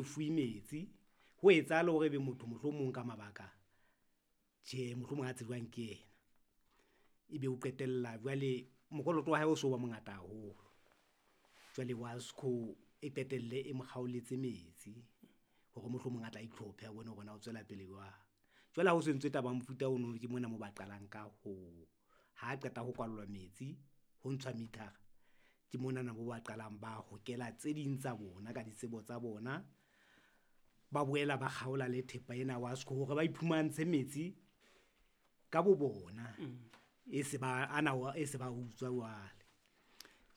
Fuwe metsi ho etsahala hore ebe motho mohlomong ka mabaka tjhe, mohlomong a tsejwang ke yena. Ebe o qetella jwale mokoloto wa hae o so ba mongata haholo, jwale WASCO e qetelle e mo kgaoletse metsi hore mohlomong a tla itlhophe a bone hore na o tswela pele jwang. Jwale ha ho so entswe taba ya mofuta ono ke mona moo ba qalang ka ho, ha qeta ho kwallwa metsi ho ntshwa meter-a, ke monana moo ba qalang ba hokela tse ding tsa bona ka ditsebo tsa bona, ba boela ba kgaola le thepa ena ya WASCO hore ba iphumantshe metsi ka bo bona, e se ba ana e se ba utswa jwale.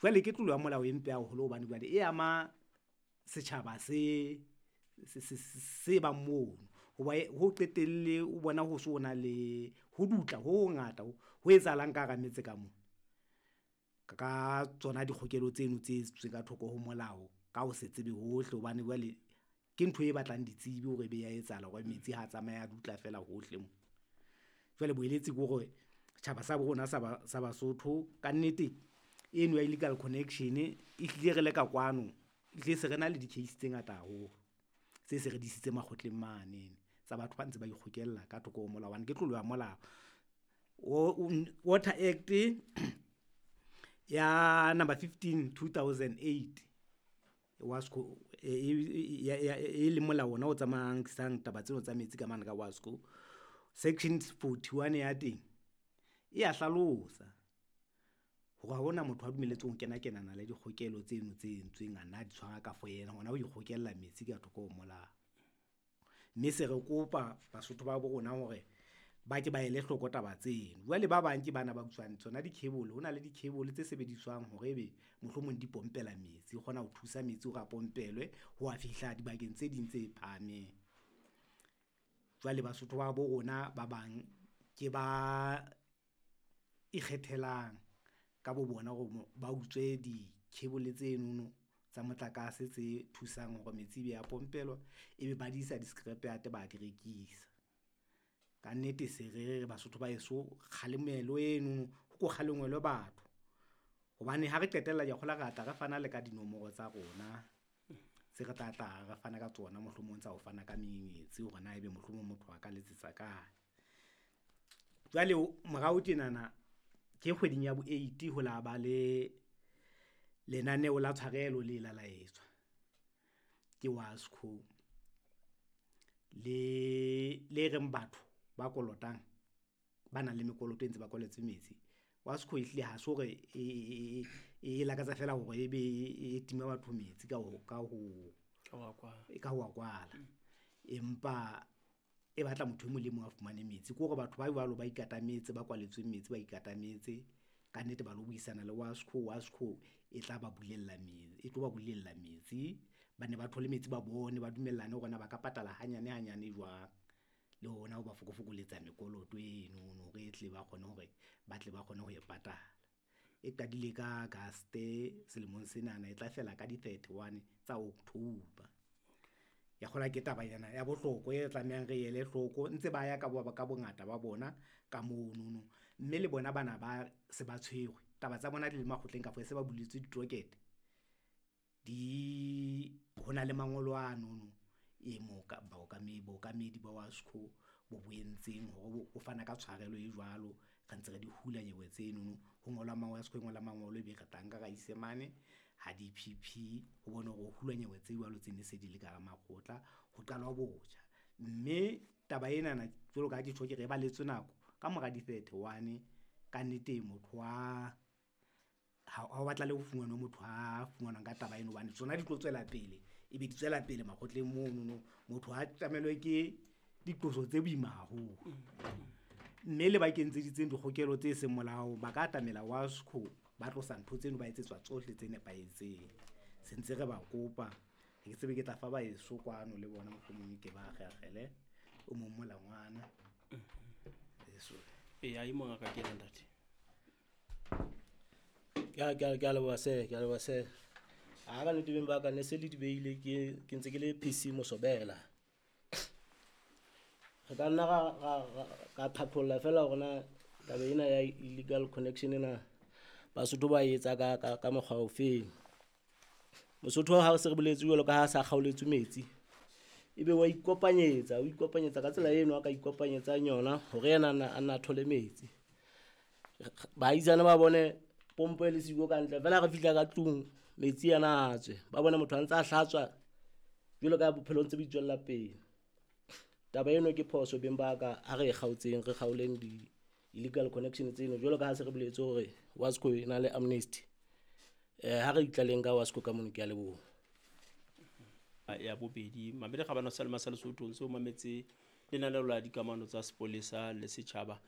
Jwale ke tlolo ya molao e mpe haholo hobane jwale e ama setjhaba se bang mono ho ba ho qetelle o bona ho so na le ho dutla ho hongata ho etsahalang ka hara metse ka mona. Ka tsona dikgokelo tseno tse etseditsweng ka thoko ho molao, ka ho se tsebe hohle hobane jwale ke ntho e batlang ditsebi hore ebe ya etsahala hore metsi ha tsamaya a dutla fela hohle mo. Jwale boeletsi ke hore setjhaba sa bo rona sa Basotho kannete eno ya illegal connection e hlile re le ka kwano, ehlile se re na le di-case tse ngata haholo tse se re di isitse makgotleng mane tsa batho ba ntse ba ikgokella ka thoko ho molao hobane ke tlolo ya molao. Water Act ya number 15, 2008 WASCO e leng molao ona o tsamaisang taba tseno tsa metsi ka mane ka WASCO, section 41 ya teng e ya hlalosa hore ha hona motho a dumelletsweng ho kena kenana le dikgokelo tseno tse entsweng, a nna di tshwara ka for yena hona ho ikgokella metsi ka thoko ho molao. Mme se re kopa Basotho ba bo rona hore ba ke ba ele hloko taba tseno, jwale ba bang ke bana ba utswang tsona di-cable, ho na le di-cable tse sebediswang hore ebe mohlomong di pompela metsi, o kgona ho thusa metsi hore a pompelwe ho wa fihla dibakeng tse ding tse phahameng. Jwale Basotho ba bo rona ba bang ke ba ikgethelang ka bo bona hore ba utswe di-cable tsenono tsa motlakase tse thusang hore metsi ebe ya pompelwa, ebe ba di isa di-scrap yard ba di rekisa. Kannete se re re Basotho ba heso kgalemelo eno ho ko kgalengwelwe batho, hobane ha re qetella ke a kgolwa re tla re fana le ka dinomoro tsa rona, tse re tla tla re fana ka tsona mohlomong tsa ho fana ka menyenyetsi hore na ebe mohlomong motho a ka letsetsa kae. Jwale morao tjenana ke kgweding ya bo eight ho la ba le lenaneo la tshwarelo le la la etswa ke WASCO, le reng batho ba kolotang, ba nang le mekoloto e ntse ba kwalletswe metsi, WASCO ehlile ha se hore e lakatsa feela hore ebe e tima batho metsi ka ho wa kwala, empa e batla motho e mong le e mong a fumane metsi. Ke hore batho ba jwalo ba ikatametse, ba kwalletsweng metsi ba ikatametse kannete ba lo buisana le WASCO, WASCO e tla ba bulella e tlo ba bulella metsi, ba nne ba thole metsi, ba bone ba dumellane hore na ba ka patala hanyane hanyane jwang, le hona ho ba fokofokoletsa mekoloto enono hore e tle ba kgone hore ba tle ba kgone ho e patala. E qadile ka August selemong senana e tla fela ka di-thirty-one tsa October. Ke a kgolwa ke tabanyana ya bohlokwa e tlamehang re ele hloko ntse ba ya ka bongata ba bona ka monono, mme le bona bana ba se ba tshwerwe taba tsa bona di le makgotleng kafo se ba buletswe ditoket, ho na le mangolo anono e bookamedi ba WASCO bo bo entseng hore o fana ka tshwarelo e jwalo, re ntse re di hula nyewe tsenono ho ngolwa WASCO e ngola mangolo, ebe re tla nka ra ise mane ha DPP ho bonwe hore ho hulwa nyewe tse jwalo tse ne se di le ka hara makgotla ho qalwa botjha. Mme taba enana jwalo ka ha ke tjho, ke re e balletswe nako ka mora di-thirty-one kannete motho wa ha o batlahale ho fumanwe motho a fumanwang ka taba eno hobane tsona di tlo tswela pele, ebe di tswela pele makgotleng monono, motho ha tjamelwe ke diqoso tse boima haholo. Mme le ba kentseditseng dikgokelo tse seng molaong, ba ka atamela WASCO ba tlosa ntho tseno, ba etsetswa tsohle tse nepahetseng, se ntse re ba kopa, ha ke tsebe ke tla fa ba heso kwano le bona mohlomong ke ba akgeakgele o mong molangwana. Eya, e mongaka ke ena ntate. Ke a leboha sir, ke a leboha sir. Ha ka nnete beng ba ka ne se le di behile ke ntse ke le PC Mosobela. Re ka nna ra qhaqholla feela hore na taba ena ya illegal connection ena Basotho ba etsa ka mokgwa ofeng. Mosotho ha se re boletse jwalo ka ha sa kgaoletswe metsi. Ebe wa ikopanyetsa, o ikopanyetsa ka tsela eno a ka ikopanyetsang yona hore yena a nna thole metsi. Baahisane ba bone pompo e le siko ka ntle, fela re fihla ka tlung metsi ana a tswe. Ba bone motho a ntse a hlatswa jwalo ka bophelo ntse bo itswella pele. Taba eno ke phoso beng ba ka, ha re e kgaotseng, re kgaoleng di-illegal connection tseno jwalo ka ha se re boletse hore Wasco e na le amnesty. Ha re itlaleng ka Wasco ka mono, ke a leboha. Ya bobedi, mamele kgabane sa le masale Sotho ntse o mametse lenaneo la dikamano tsa sepolesa le setjhaba.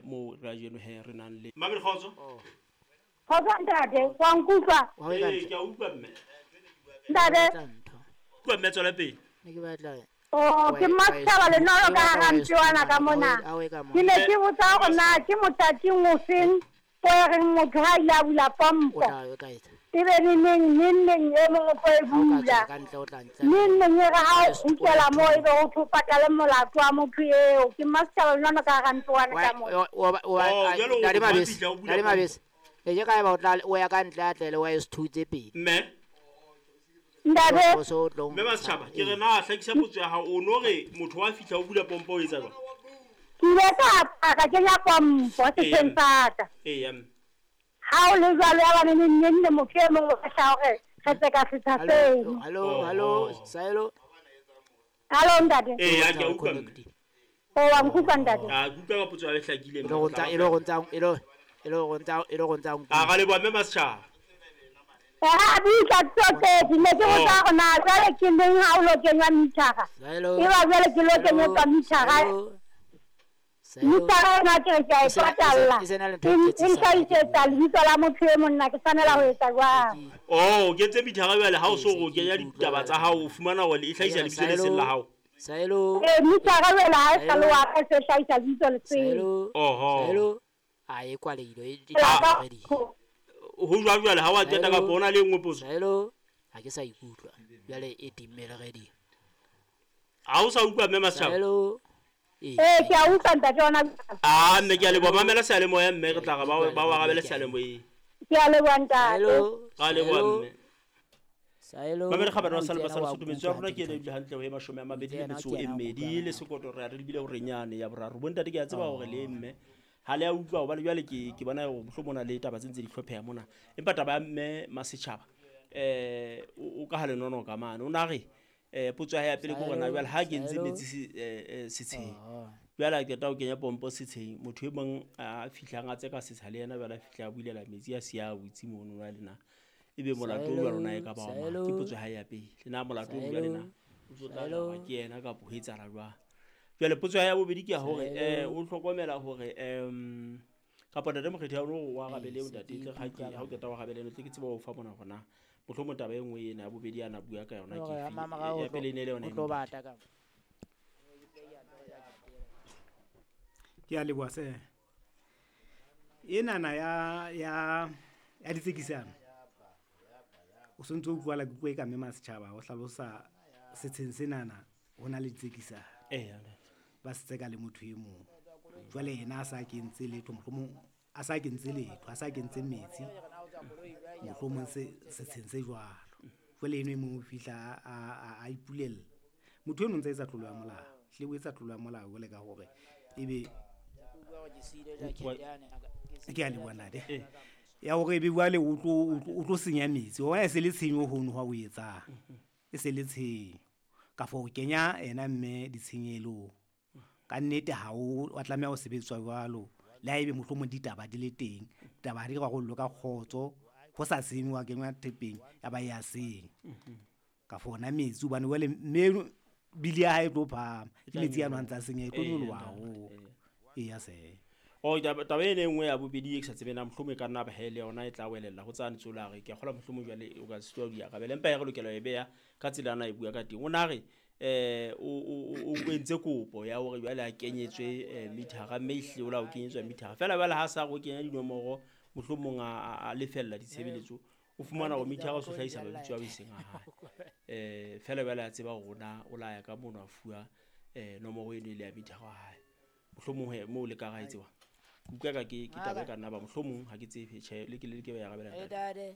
Mo ra jeno he re nang le Mamele kgotso. Kgotso ntate, wa nkutlwa? Ke a utlwa mme. Ntate. Utlwa mme, tswela pele. Ne ke batla. Oh, ke Mmasechaba Lenolo ka hara Ntwana ka mona. Ke ne ke botsa hore na ke mothating ofeng o e reng motho ha ile a bula pompo. Ebe neneng neng e mong o tlo e bula. Neng neng e re ha o kgutlela moo ebe ho thwe o patale molato wa motho eo. Ke Mmasechaba Lenolo ka hara Ntwana ka mona. Ntate Mabese, Ntate Mabese. Le ke ka eba o tla o ya ka ntle a tle le wa e two tse pedi. Mme Ntate. Mme Mmasechaba, ke re na hlakisa potso ya hao, o no re motho wa fihla o bula pompo o etsa jwang? Ke ile ka kenya pompo setsheng sa ka. Ha o le jwalo ya ba neng neng le motho e mong o tla hore re tse ka setsha seo. Hallo, hallo, Saelo. Hallo ntate. Ya ke utlwa mme. O wa nkutlwa ntate. A kutlwa ka potso ya hlakile mme. E le go ntsa. A ga le bo mme Mmasechaba. Ha bitsa tsoke di ne ke botsa hore na jwale ke neng ha o lo kenywa mithara. E ba jwale ke lo kenywa mithara. Mithara ena ke re ke a e patalla. E nhlahisetsa lebitso la motho e monna, ke tshwanela ho etsa jwang? Oh, ke tse mithara jwale ha o so go kenya ditaba tsa hao o fumana hore e hlahisa lebitso le seng la hao. Saelo. Mithara jwale ha e sa le wa ka se hlahisa lebitso le seng. Oho. Saelo. A e kwalehile e ready. Ho jwang jwale ha wa qeta ka bona le nngwe potso. Saelo, ha ke sa ikutlwa. Jwale e timmele ready. Ha o sa utlwa mme Mmasechaba? Saelo. Ke a utlwa ntate ona. Ah, mme ke a leboha, mamela seyalemoya mme re tla re ba wa arabele seyalemoyeng. Ke a leboha ntate. Ra leboha mme. Saelo. Mamele kgabane wa sa le basala Sotho metso ya rona ke ena ebile hantle ho e 22 le sekoto re a re lebile hore nyane ya boraro. Bo ntate ke a tseba hore le mme ha le a utlwa hobane jwale ke bona hore mohlomong na le taba tse ntse di hlopheha mona. Empa taba ya mme Mmasechaba o ka ha lenono ka mane. O na re potso ya pele ke hore na jwale ha ke ntse metsi setsheng. Jwale a qeta ho kenya pompo setsheng, motho e mong a fihlang a tseka setsha le yena jwale a fihla a bulela metsi a siya a butse mono jwale na. Ebe molato o jwalo na e ka ba wa mang? Ke potso ya pele. Le na molato o jwale na o tlo tla ke yena kapa ho etsahala jwang? Jwale potso ya bobedi ke ya hore o hlokomela hore kapa ntate Mokgethi ha o wa arabele o ntate tle ha ke ha o qeta wa arabele tle ke tsebe ho fa mona hore na mohlomong taba e nngwe ena ya bobedi ana bua ka yona ke efe. Ya pele ne le yona. Ke a leboha se. Enana ya ditsekisano. O sontse o utlwala ke bua ka mme Mmasechaba o hlalosa setsheng senana ho na le ditsekisano. Ba se tseka le motho e mong. Jwale yena a sa kentse letho, mohlomong a sa kentse letho, a sa kentse metsi. Mohlomong setsheng se jwalo. Jwale eno e mong o fihla a ipulella. Motho eno ntse etsa tlolo ya molao. Hle o etsa tlolo ya molao jwale ka hore ebe ke a leboha ntate. Ya hore ebe jwale o tlo senya metsi. Wa bona e se le tshenyo hono ha o etsang. E se le tshenyo. Ka fo kenya ena mme ditshenyelong. Ka nnete ha o wa tlameha ho sebetswa jwalo. Le ha ebe mohlomong ditaba di le teng, taba di rarollwe ka kgotso, ho sa senywa kenywa thepeng ya ba ya senya. Ka fo ona metsi hobane jwale mme bili ya hae e tlo phahama. Ke metsi ano a ntsa senya e tlo nyoloha haholo. Eya se. Oh, taba ena e nngwe ya bobedi e ke sa tsebeng na mohlomong e ka nna ba he le yona e tla welella ho tsane tsola re ke a kgolwa mohlomong jwale o ka sitwa ho di arabela. Empa e re lokela ho e beha ka tsela ana e bua ka teng. O na re o entse kopo ya hore jwale a kenyetswe mithara mme ehlile o la o kenyetswa mithara. Feela jwale ha sa re o kenya dinomoro mohlomong a lefella ditshebeletso o fumana hore mithara o so hlahisa mabitso ao e seng a hae. Feela jwale a tseba hore na o la ya ka mono a fuwa nomoro eno e le ya mithara wa hae. Mohlomong moo le ka ra e tseba. Kutlwa ka ke taba e ka nna ba mohlomong ha ke tsebe tjhe le ke le ke ba ya arabela ntate.